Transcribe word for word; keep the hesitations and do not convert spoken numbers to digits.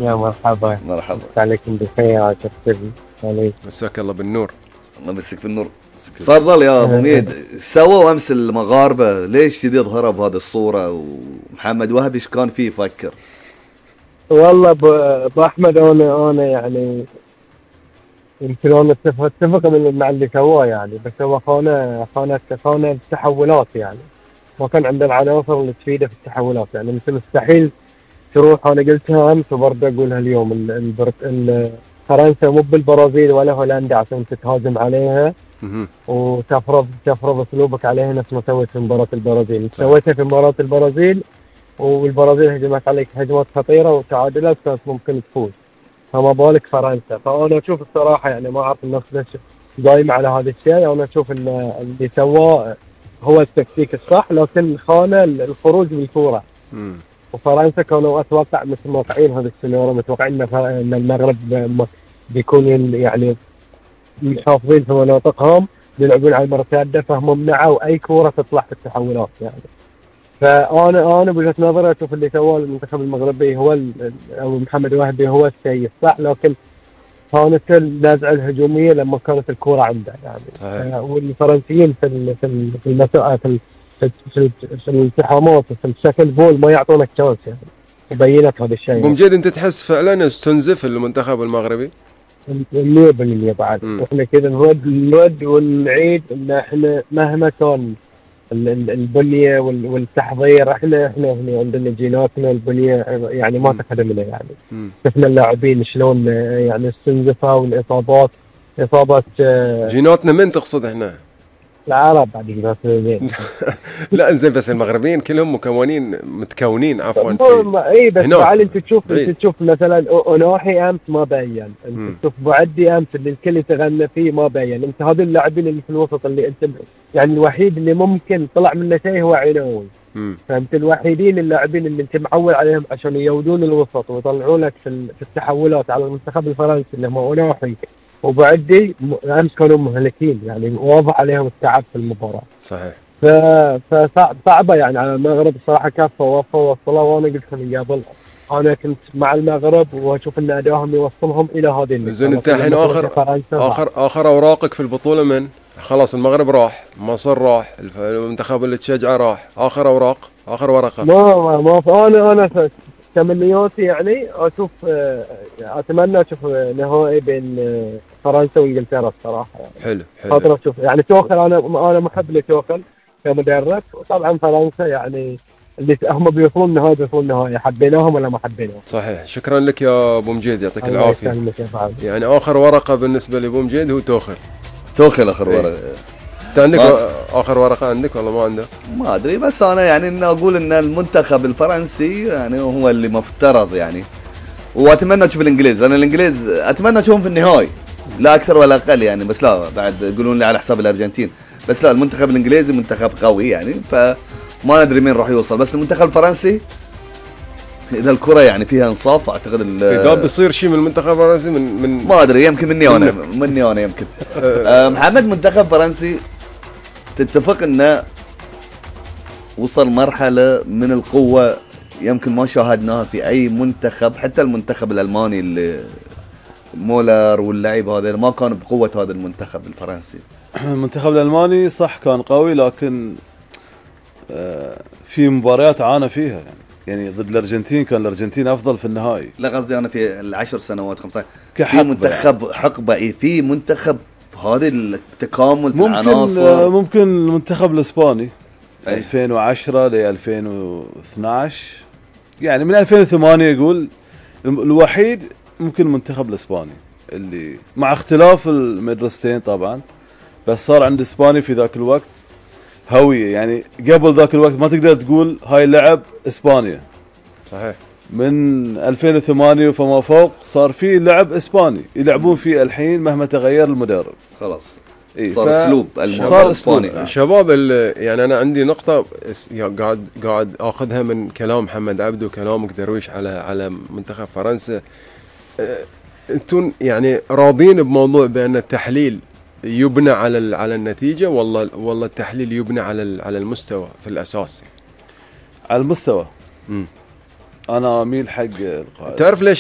يا مرحبا. مرحبا. مساء عليكم بخير يا كابتن عليك. مساك الله بالنور. الله يمسك بالنور. تفضل يا ابو ميد. سووا امس المغاربه ليش كذي ظهروا بهذه الصوره؟ ومحمد وهبي ايش كان فيه يفكر؟ والله ابو احمد انا انا يعني يمكن انا اتفق اتفق مع اللي سواه يعني، بس هو خانه خانه خانه التحولات يعني، ما كان عنده العناصر اللي تفيده في التحولات يعني. مثل مستحيل تروح، انا قلتها امس وبرضه اقولها اليوم، ال- البرت... ال- فرنسا مو بالبرازيل ولا هولندا عشان تتهاجم عليها مهم. وتفرض تفرض اسلوبك عليها نفس ما سويت في مباراه البرازيل. صح. سويتها في مباراه البرازيل والبرازيل هجمت عليك هجمات خطيره وتعادلت، كانت ممكن تفوز، فما بالك فرنسا. فانا اشوف الصراحه يعني ما اعرف الناس ليش دايم على هذا الشيء. انا اشوف ان اللي سواه هو التكتيك الصح، لكن خانه الخروج بالكوره. مم. وفرنسا كانوا اتوقع متوقعين هذا السيناريو، متوقعين ان ف- إن المغرب م- بيكون يعني محافظين في مناطقهم، بيلعبون على المرتده، فهم منعوا اي كوره تطلع في التحولات يعني. فانا انا بوجهه نظري اشوف اللي سواه المنتخب المغربي هو ال- او محمد وهبي هو الشيء الصح، لكن كانت النزعه الهجوميه لما كانت الكوره عنده يعني. صحيح. آه، والفرنسيين في ال- في ال- في المسا في ال- في في في الالتحامات وفي الشكل بول ما يعطونك شانس يعني، وبينت هذا الشيء ابو يعني. مجيد، انت تحس فعلا استنزف المنتخب المغربي؟ مية بالمية بعد مم. احنا كذا نرد نرد ونعيد ان احنا مهما كان ال- ال- البنيه وال- والتحضير، احنا احنا هنا عندنا جيناتنا البنيه يعني ما مم. تخدمنا يعني. مم. شفنا اللاعبين شلون آه، يعني استنزفوا، والاصابات اصابه آه، جيناتنا من تقصد احنا؟ العرب بعد جيناتنا زين. لا انزين، بس المغربيين كلهم مكونين متكونين عفوا ما- في ما- اي بس هناك. تعال انت تشوف بعيد. انت تشوف مثلا أو- اوناحي امس ما بين، مم. انت تشوف بوعدي امس اللي الكل يتغنى فيه ما بين. انت هذول اللاعبين اللي في الوسط اللي انت يعني الوحيد اللي ممكن طلع منه شيء هو عينوي. مم. فانت الوحيدين اللاعبين اللي انت معول عليهم عشان يودون الوسط ويطلعوا لك في ال- في التحولات على المنتخب الفرنسي اللي هم اوناحي وبعدي، م- امس كانوا مهلكين يعني، واضح عليهم التعب في المباراه. صحيح. ف فصعبه يعني على المغرب الصراحه، كافه ووفوا وصلوا. وانا قلت من قبل انا كنت مع المغرب واشوف ان ادائهم يوصلهم الى هذه النقطه. زين، انت الحين اخر اخر اخر اوراقك في البطوله من؟ خلاص المغرب راح، مصر راح، الف- المنتخب اللي تشجعه راح، اخر اوراق، اخر ورقه. ما ما, ما انا انا ف- تمنياتي يعني اشوف آه، اتمنى اشوف نهائي بين آه، فرنسا وانجلترا الصراحه يعني. حلو خاطر حلو. اشوف يعني توخل، انا انا محب لتوخل كمدرب، وطبعا فرنسا يعني اللي هم بيوصلون النهائي بيوصلون النهائي، حبيناهم ولا ما حبيناهم. صحيح. شكرا لك يا ابو مجيد، يعطيك الله العافيه. يسلمك يا فهد. يعني اخر ورقه بالنسبه لابو مجيد هو توخل. توخل اخر إيه. ورقه. انت عندك آه. اخر ورقه عندك ولا ما عندك؟ ما ادري، بس انا يعني ان اقول ان المنتخب الفرنسي يعني هو اللي مفترض يعني، واتمنى اشوف الانجليز. انا الانجليز اتمنى اشوفهم في النهائي لا اكثر ولا اقل يعني، بس لا بعد يقولون لي على حساب الارجنتين، بس لا المنتخب الانجليزي منتخب قوي يعني، فما ندري مين راح يوصل. بس المنتخب الفرنسي اذا الكره يعني فيها انصاف اعتقد ال- اذا بيصير شيء من المنتخب الفرنسي من من ما ادري، يمكن مني انا مني انا يمكن. آه، محمد، منتخب فرنسي تتفق انه وصل مرحله من القوه يمكن ما شاهدناها في اي منتخب، حتى المنتخب الالماني اللي مولر واللعيب هذا ما كان بقوه هذا المنتخب الفرنسي. المنتخب الألماني صح كان قوي، لكن آه، في مباريات عانى فيها يعني يعني ضد الأرجنتين كان الأرجنتين أفضل في النهائي لا قصدي انا في العشر سنوات خمسة عشر في كحقبة. منتخب حقبه، إيه، في منتخب هذا التكامل في ممكن آه، العناصر. ممكن المنتخب الإسباني أي. ألفين وعشرة ل ألفين واثناشر، يعني من ألفين وثمانية يقول الم- الوحيد ممكن المنتخب الإسباني اللي مع اختلاف المدرستين طبعا، بس صار عند إسباني في ذاك الوقت هوية يعني. قبل ذاك الوقت ما تقدر تقول هاي لعب إسبانيا. صحيح. من ألفين وثمانية فما فوق صار في لعب إسباني يلعبون فيه الحين مهما تغير المدرب. خلاص إيه، صار ف- اسلوب الموضوع صار الاسباني. أسلوب. شباب ال- يعني انا عندي نقطه اس- يا قاعد قاعد اخذها من كلام محمد عبده وكلامك درويش على على منتخب فرنسا. أه، انتم يعني راضين بموضوع بان التحليل يبنى على ال- على النتيجه، والله والله التحليل يبنى على ال- على المستوى في الاساس؟ على المستوى امم أنا أميل حق القائد. تعرف ليش